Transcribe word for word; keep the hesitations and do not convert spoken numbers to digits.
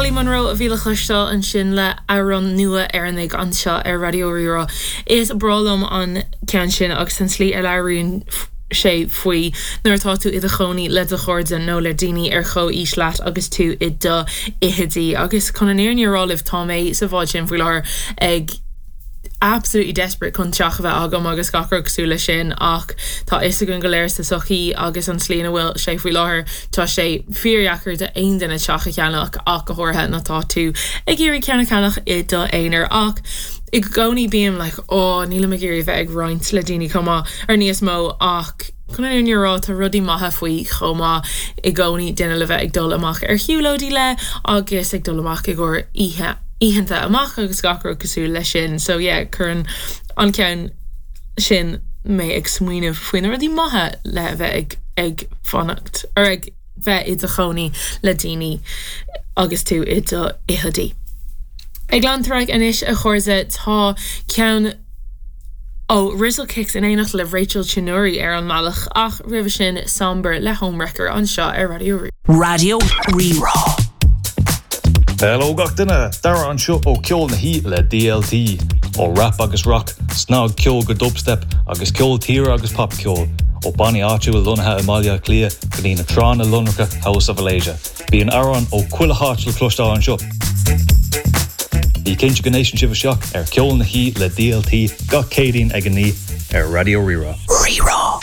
Olly Monroe a bhí le cloisteáil ansin le amhrán nua Éireannaigh anseo ar Raidió Rí-Rá. Is breá liom an ceann sin agus an tslí a labhraíonn sé faoi nuair atá tú i do chónaí le do chairde nó le daoine ar chomhaois leat agus tú i do fhichidí agus chun an fhírinne a rá libh tá mé sa bhád sin faoi láthair ag absolutely desperate chun teach a bheith agam agus gach rud cosúil leis sin ach tá fhios againn go léir sa sochaí agus an tslí ina bhfuil sé faoi láthair tá sé fíordheacair d'aon duine teach a cheannach ach go háirithe má tá tú ag iarraidh ceann a cheannach i do aonar ach i gcónaí bím like ó nílim ag iarraidh bheith ag roinnt le daoine chomh maith ar níos mó ach chun an rá tá rudaí maithe faoi chomh maith i gcónaí duine le bheith ag dul amach ar shiúlóidí le agus ag dul amach i gcomhair oíche oícheanta amach agus gach rud cosúil leis sin so yeah cuireann an ceann sin mé ag smaoineamh faoi na rudaí maithe le bheith ag ag fanacht ar ag bheith i do chónaí le daoine agus tú i do fhichidí. Ag leanúint anois a chairde tá ceann ó Rizzle Kicks in éineacht le Rachel Chinouriri ar an mbealach ach roimhe sin Somber le Homewrecker anseo ar Raidió Raidió Rí-Rá. Hello gach duine Dara anseo ó Ceol na hOíche le DLT ó rap agus rock, snagcheol go dubstep agus ceol tíre agus popcheol ó bannaí áitiúla lonnaithe i mBaile Átha Cliath go dtí na tránna lonracha House of Malaysia. Bíonn amhráin ó chuile áit le cloisteáil anseo. Bí cinnte go n-éisteann sibh isteach ar Ceol na hOíche le DLT gach Céadaoin ag a naoi ar Raidió Rí-Rá. Rí-Rá.